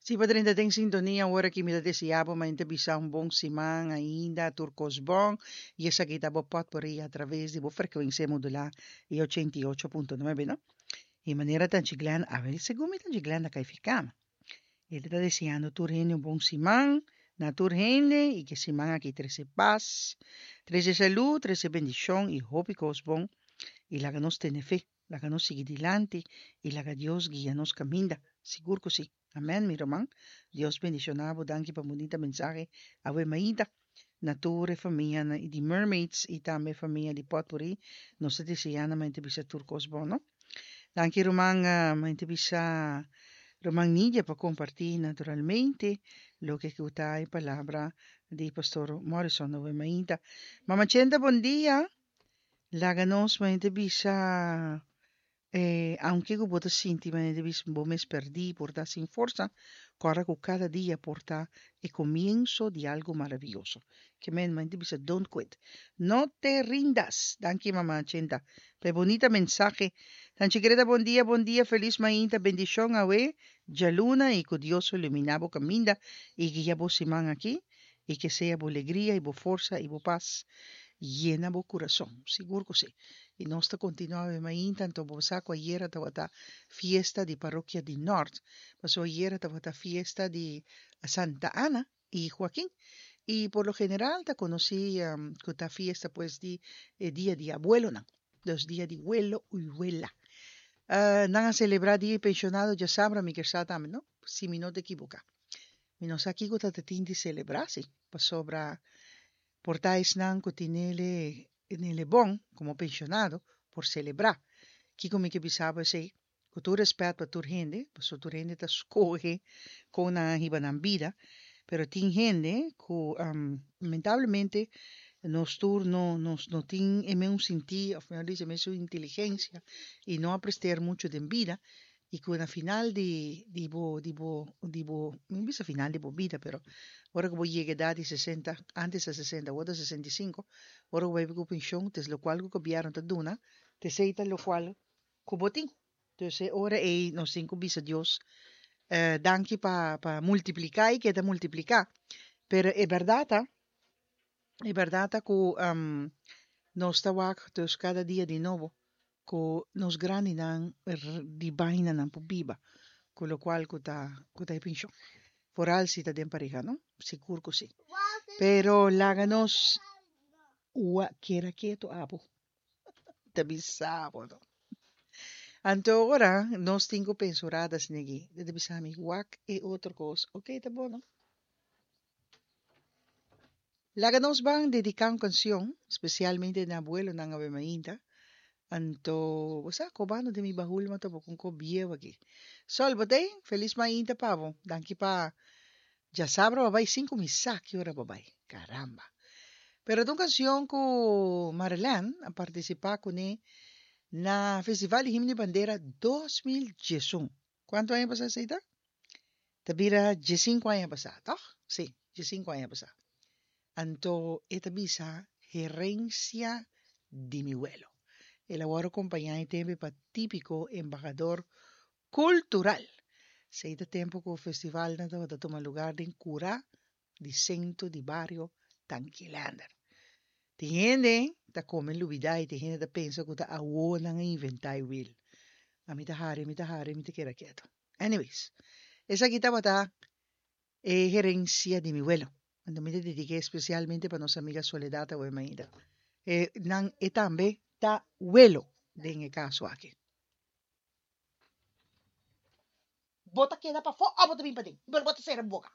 Si bo drenta den sintonia awor aki mi ta desea bo mainta bisa un bon siman ainda tur kos bon y esaki ta bo potpourri a traves di bo frecuencia modula e 88.9 no. Y manera Tanchi Glen a wer segun mi Tanchi Glen ta kai fi kama. E ta deseando tur hende un bon siman na tur hende y ke siman aki trece pas, trece salud, trece bendicion y hopi kos bon y laga nos tene fe. Laga nos sigui dilanti y laga Dios guia nos caminda. Sigur cu si. Amen mi ruman. Dios bendiciona bo. Danki pa bunita mensahe awe mainta. Na tur e famia di Mermaids y tambe famia di Potpourri nos ta desea nan mainta bisa tur cos bon no. Danki ruman mainta bisa ruman Nidia pa comparti naturalmente loke cu ta e palabra di Pastor Morrison awe mainta. Mama Chenta bon dia. Laga nos manera ta bisa, eh, aunke ku bo ta sinti manera ta bisa bo mes pèrdí, por ta sin forsa, kòrda ku kada dia por ta e komienso di algu maravioso. Ke men manera ta bisa don't quit. No te rindas! Danki mama Chenta pa e bunita mensahe. Tanchi Greta bon dia, bon dia, felis mainta, bendishon awe djaluna i ku Dios lo iluminá bo kaminda i guia bo siman aki. i ke sea bo legria i bo forsa i bo pas yena bo kurason. Sigur ku si. I nos ta kontinuá awe mainta, anto bo sa ku ayera tabata fiesta di parokia di Nort, pasobra ayera tabata fiesta di Santa Ana i Joaquin. I por lo general ta konosí ku ta fiesta pues di e dia di abuelonan, dus dia di welo i wela. Nan a selebrá dia di penshonado djasabra, mi kier sa tambe, no? Si mi no ta ekiboká. Mi no sa kiko ta ta tin di selebrá si, pasobra por ta esnan ku tin nele nele bon komo penshonado por selebrá. Kiko mi ke bisa bo esei? Ku tur rèspèt pa tur hende, pasobra tur hende ta skohe kon nan a hiba nan bida, pero tin hende ku lamentablemente nos tur no nos no tin e mesun sintí òf mihor dicho e mesun inteligensia i no a presteer muchu den bida y cu na final di di bo di bo di bo mi no bisa final di bo bida pero ora cu bo yega edad di sesenta antes ta sesenta awor ta sesenta y cinco ora cu bo bay cu pension ta es locual cu gobierno ta duna ta esey ta locual cu bo tin entonces e ora ey nos tin cu bisa Dios danki pa pa multiplica y keda multiplica pero e berdad ta e berdad ta cu nos ta wak dus cada dia di nobo ku nos grandinan di bainanan por biba ku lokual ku ta ku ta e penshon. Foral si ta den pareha no, sigur ku si. Pero laga nos ua keda ketu abo ta bisa bo no. Anto ora nos tin ku pensa un rato asina aki, ta bisa mi wak e otro kos, oke ta bon no. Laga nos ban dedica un cancion specialmente na abuelonan awe mainta. Anto bo sa cobando den mi bahul ma topa cu un cop bieu aki. Sol bo t'ey? Feliz mainta pa bo. Danki pa djasabra bo a bay sin cu mi sa ki ora bo a bay. Caramba. Pero ta un cancion cu Marilyn a participa cune na Festival di Himno y Bandera 2011. Cuanto aña pasa esey ta? Ta bira diesinku aña pasá, tòg? Sí, diesinku aña pasá. Anto e ta bisa herensia di mi welo. El a wòrdu kompañá e tempu pa típiko embahador kultural. Esei ta tempu ku festivalnan tabata tuma lugar den kurá di sentro di bario Tankilander. Tin hende ta kome lubidá i tin hende ta pensa ku ta awor nan a inventá e wil. Ami ta hari, mi ta hari, mi ta keda ketu. Anyways, esaki tabata e herencia di mi welo. Anto mi ta dediké especialmente pa nos amiga Soledad awe mainta. E nan e tambe ta welo den e caso aki. Bo ta keda pafó o bo ta bin paden? Pero bo ta sera bo boca.